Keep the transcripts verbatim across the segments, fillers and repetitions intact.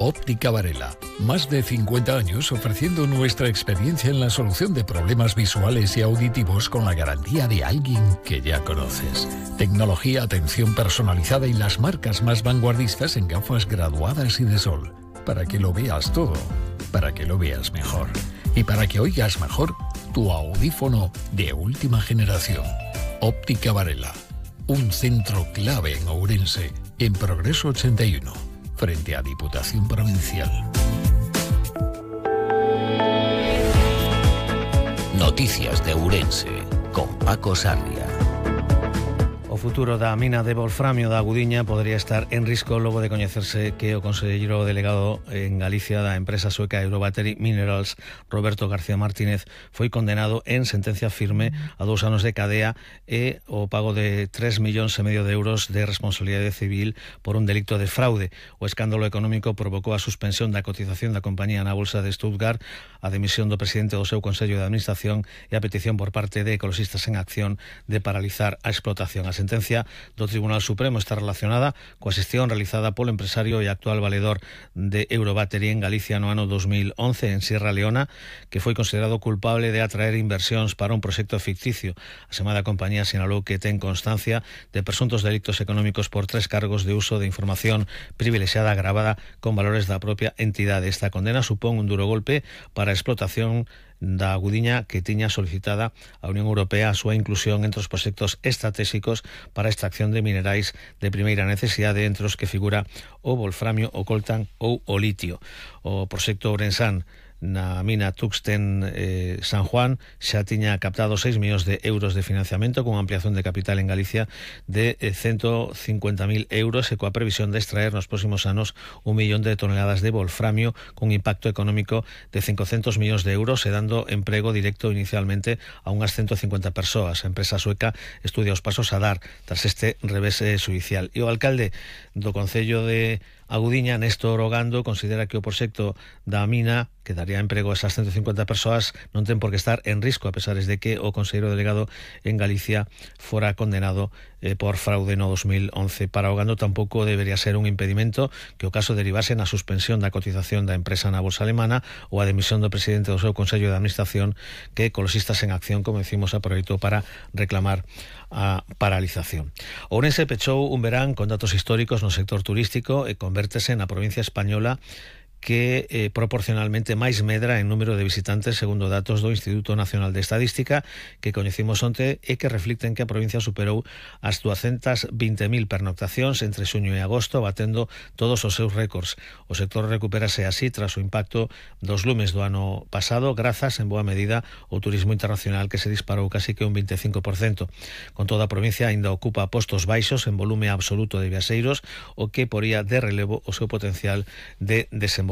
Óptica Varela. Más de cincuenta años ofreciendo nuestra experiencia en la solución de problemas visuales y auditivos con la garantía de alguien que ya conoces. Tecnología, atención personalizada y las marcas más vanguardistas en gafas graduadas y de sol. Para que lo veas todo, para que lo veas mejor. Y para que oigas mejor tu audífono de última generación. Óptica Varela. Un centro clave en Ourense, en Progreso ochenta y uno. Frente a Diputación Provincial. Noticias de Ourense con Paco Sarria. O futuro da mina de wolframio da Agudiña podería estar en risco logo de coñecerse que o conselleiro delegado en Galicia da empresa sueca Eurobattery Minerals, Roberto García Martínez, foi condenado en sentencia firme a dous anos de cadea e o pago de tres millóns e medio de euros de responsabilidade civil por un delito de fraude. O escándalo económico provocou a suspensión da cotización da compañía na bolsa de Stuttgart, a demisión do presidente do seu Consello de Administración e a petición por parte de Ecologistas en Acción de paralizar a explotación. A sentencia do Tribunal Supremo está relacionada coa xestión realizada polo empresario e actual valedor de Eurobattery en Galicia no ano dos mil once en Sierra Leona, que foi considerado culpable de atraer inversións para un proxecto ficticio. A semana compañía sinalou que ten constancia de presuntos delitos económicos por tres cargos de uso de información privilexiada agravada con valores da propia entidade. Esta condena supón un duro golpe para a explotación da Agudiña, que tiña solicitada a Unión Europea a súa inclusión entre os proxectos estratégicos para a extracción de minerais de primeira necesidade, entre os que figura o wolframio, o coltan ou o litio. O proxecto ourensán na mina Tuxten eh, San Juan xa tiña captado seis millóns de euros de financiamento con ampliación de capital en Galicia de eh, ciento cincuenta mil euros e coa previsión de extraer nos próximos anos un millón de toneladas de wolframio con impacto económico de cincocentos millóns de euros e dando emprego directo inicialmente a unhas ciento cincuenta persoas. A empresa sueca estudia os pasos a dar tras este revés eh, judicial. E o alcalde do Concello de Agudiña, Néstor Ogando, considera que o proxecto da mina, que daría emprego a esas ciento cincuenta persoas, non ten por que estar en risco, a pesar de que o conselleiro delegado en Galicia fora condenado eh, por fraude no dos mil once. Para Ogando tampouco debería ser un impedimento que o caso derivase na suspensión da cotización da empresa na bolsa alemana ou a demisión do presidente do seu Consello de Administración, que Ecologistas en Acción, como decimos, aproveitou para reclamar a paralización. Ourense pechou un verán con datos históricos no sector turístico e convértese na provincia española que eh, proporcionalmente máis medra en número de visitantes segundo datos do Instituto Nacional de Estadística que coñecimos onte e que reflicten que a provincia superou as duascentas vinte mil pernoctacións entre xuño e agosto, batendo todos os seus récords. O sector recupérase así tras o impacto dos lumes do ano pasado, grazas en boa medida ao turismo internacional que se disparou casi que un vinte e cinco por cento. Con toda a provincia aínda ocupa postos baixos en volume absoluto de viaxeiros, o que poría de relevo o seu potencial de desenvolvemento.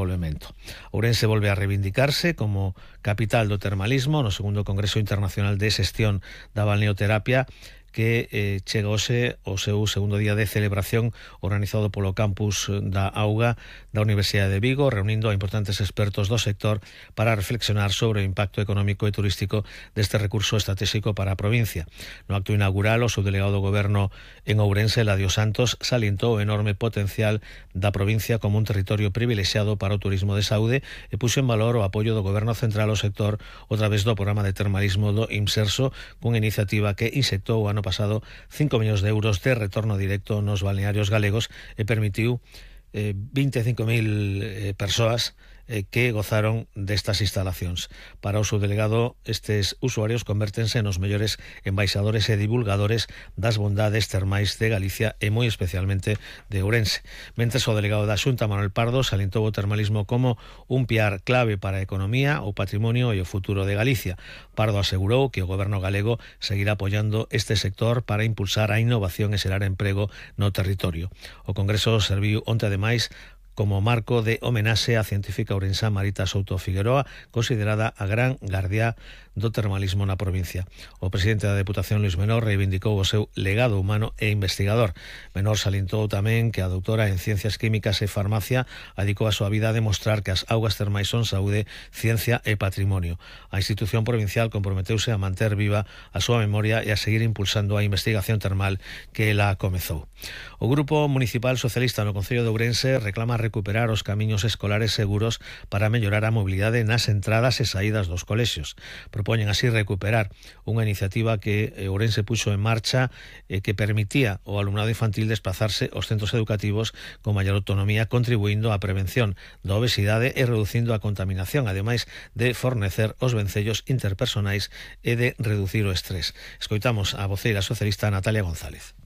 Ourense volve a reivindicarse como capital do termalismo no segundo Congreso Internacional de Xestión da Balneoterapia, que eh, chega hoxe o seu segundo día de celebración organizado polo campus da Auga da Universidade de Vigo, reunindo a importantes expertos do sector para reflexionar sobre o impacto económico e turístico deste recurso estratégico para a provincia. No acto inaugural, o subdelegado do Goberno en Ourense, Eladio Santos, salientou o enorme potencial da provincia como un territorio privilexiado para o turismo de saúde e puxo en valor o apoio do Goberno Central ao sector a través do programa de termalismo do IMSERSO, cunha iniciativa que insectou o ano pasado cinco millóns de euros de retorno directo nos balnearios galegos e permitiu eh, vinte e cinco mil eh, persoas eh, que gozaron destas instalacións. Para o subdelegado, estes usuarios convértense nos mellores embaixadores e divulgadores das bondades termais de Galicia e moi especialmente de Ourense. Mentres o delegado da Xunta, Manuel Pardo, salientou o termalismo como un piar clave para a economía, o patrimonio e o futuro de Galicia. Pardo asegurou que o goberno galego seguirá apoiando este sector para impulsar a innovación e xerar emprego no territorio. O Congreso serviu onte ademais como marco de homenaxe á científica ourensá Marita Souto Figueroa, considerada a gran gardiá do termalismo na provincia. O presidente da Deputación, Luis Menor, reivindicou o seu legado humano e investigador. Menor salientou tamén que a doutora en Ciencias Químicas e Farmacia adicou a súa vida a demostrar que as augas termais son saúde, ciencia e patrimonio. A institución provincial comprometeuse a manter viva a súa memoria e a seguir impulsando a investigación termal que ela comezou. O Grupo Municipal Socialista no Concello de Ourense reclama recuperar os camiños escolares seguros para mellorar a mobilidade nas entradas e saídas dos colexios. Propoñen así recuperar unha iniciativa que Ourense puxo en marcha e que permitía ao alumnado infantil desplazarse aos centros educativos con maior autonomía, contribuindo á prevención da obesidade e reducindo a contaminación, ademais de fornecer os vencellos interpersonais e de reducir o estrés. Escoitamos a voceira socialista Natalia González.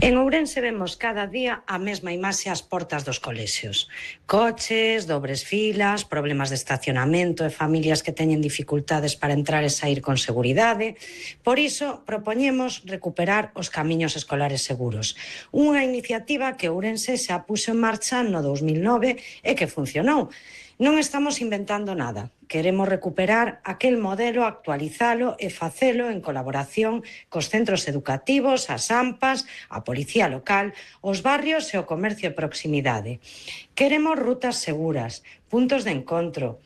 En Ourense vemos cada día a mesma imaxe ás portas dos colexios. Coches, dobres filas, problemas de estacionamento e familias que teñen dificultades para entrar e sair con seguridade. Por iso, propoñemos recuperar os camiños escolares seguros. Unha iniciativa que Ourense xa puxo en marcha no dous mil nove e que funcionou. Non estamos inventando nada. Queremos recuperar aquel modelo, actualizalo e facelo en colaboración cos centros educativos, as AMPAs, a Policía Local, os barrios e o comercio de proximidade. Queremos rutas seguras, puntos de encontro,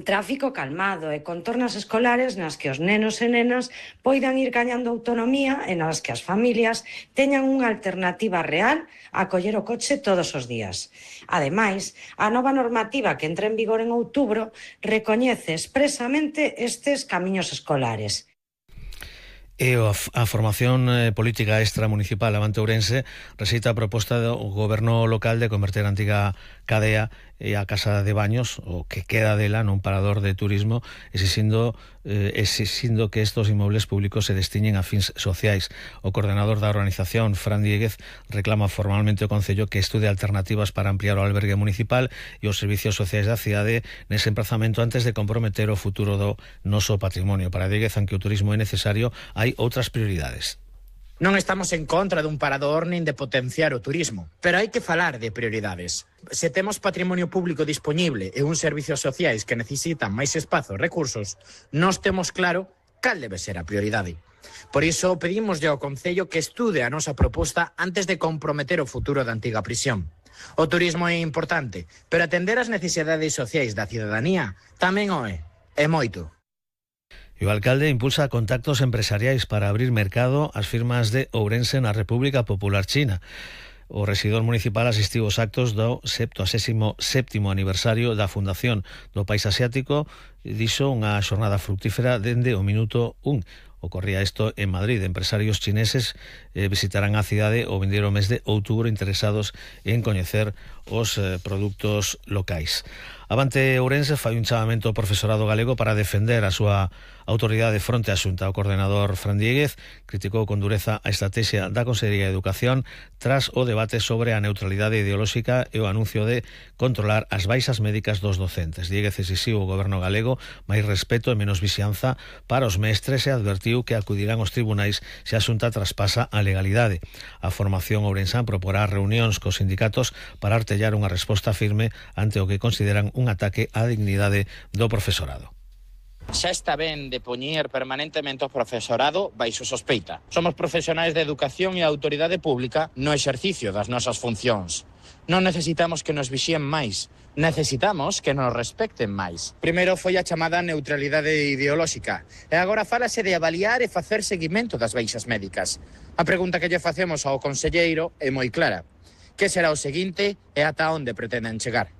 tráfico calmado e contornas escolares nas que os nenos e nenas poidan ir gañando autonomía e nas que as familias teñan unha alternativa real a coller o coche todos os días. Ademais, a nova normativa que entra en vigor en outubro recoñece expresamente estes camiños escolares. E a, a formación eh, política extramunicipal Avante Ourense rexeita a proposta do goberno local de converter a antiga cadea e a casa de baños, o que queda dela, nun parador de turismo, exixindo, eh, exixindo que estos inmobles públicos se destinen a fins sociais. O coordenador da organización, Fran Dieguez, reclama formalmente ao Concello que estude alternativas para ampliar o albergue municipal e os servicios sociais da cidade nese emprazamento antes de comprometer o futuro do noso patrimonio. Para Dieguez, aunque o turismo é necesario, hai outras prioridades. Non estamos en contra dun parador nin de potenciar o turismo, pero hai que falar de prioridades. Se temos patrimonio público disponible e uns servicios sociais que necesitan máis espazo e recursos, nós temos claro cal debe ser a prioridade. Por iso pedimoslle ao Concello que estude a nosa proposta antes de comprometer o futuro da antiga prisión. O turismo é importante, pero atender as necesidades sociais da cidadanía tamén o é, é moito. E o alcalde impulsa contactos empresariais para abrir mercado ás firmas de Ourense na República Popular China. O rexidor municipal asistiu aos actos do septuagésimo sétimo aniversario da Fundación do País Asiático e dixo unha xornada fructífera dende o minuto un. Ocorría isto en Madrid. Empresarios chineses eh, visitarán a cidade o vindeiro mes de outubro interesados en coñecer os eh, produtos locais. Avante Ourense fai un chamamento ao profesorado galego para defender a súa autoridade fronte á Xunta. O coordenador Fran Dieguez criticou con dureza a estrategia da Consellería de Educación tras o debate sobre a neutralidade ideolóxica e o anuncio de controlar as baixas médicas dos docentes. Dieguez exixiu ao goberno galego máis respeto e menos vixianza para os mestres e advertiu que acudirán aos tribunais se a Xunta traspasa a legalidade. A formación ourensán proporá reunións cos sindicatos para artellar unha resposta firme ante o que consideran un ataque á dignidade do profesorado. Xa está ben de poñer permanentemente o profesorado baixo sospeita. Somos profesionais de educación e autoridade pública no exercicio das nosas funcións. Non necesitamos que nos vixíen máis, necesitamos que nos respecten máis. Primeiro foi a chamada neutralidade ideolóxica e agora fálase de avaliar e facer seguimento das baixas médicas. A pregunta que lle facemos ao conselleiro é moi clara. Que será o seguinte e ata onde pretenden chegar?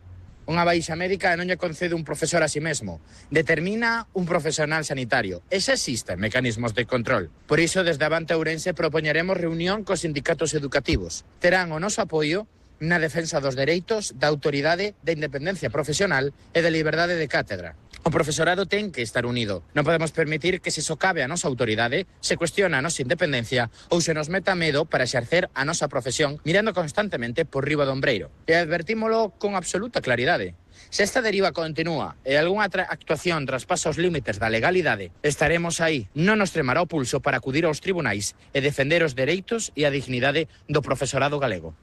Unha baixa médica non lle concede un profesor a si mesmo, determina un profesional sanitario. E xa existen mecanismos de control. Por iso, desde Avante Ourense propoñeremos reunión cos sindicatos educativos. Terán o noso apoio na defensa dos dereitos, da autoridade, da independencia profesional e da liberdade de cátedra. O profesorado ten que estar unido. Non podemos permitir que se socave a nosa autoridade, se cuestiona a nosa independencia ou se nos meta medo para exercer a nosa profesión mirando constantemente por riba do ombreiro. E advertímolo con absoluta claridade. Se esta deriva continúa e algunha actuación traspasa os límites da legalidade, estaremos aí. Non nos tremará o pulso para acudir aos tribunais e defender os dereitos e a dignidade do profesorado galego.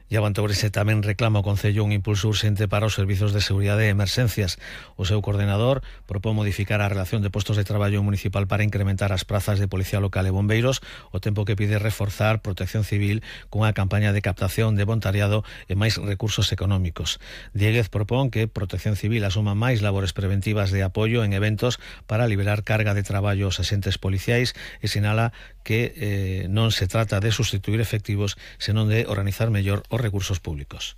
E Avante Ourense tamén reclama ao Concello un impulso urxente para os servizos de seguridade e emerxencias. O seu coordenador propón modificar a relación de postos de traballo municipal para incrementar as prazas de Policía Local e Bombeiros, o tempo que pide reforzar Protección Civil cunha campaña de captación de voluntariado e máis recursos económicos. Dieguez propón que Protección Civil asuma máis labores preventivas de apoio en eventos para liberar carga de traballo aos axentes policiais e sinala que eh, non se trata de sustituir efectivos, senón de organizar mellor os recursos públicos.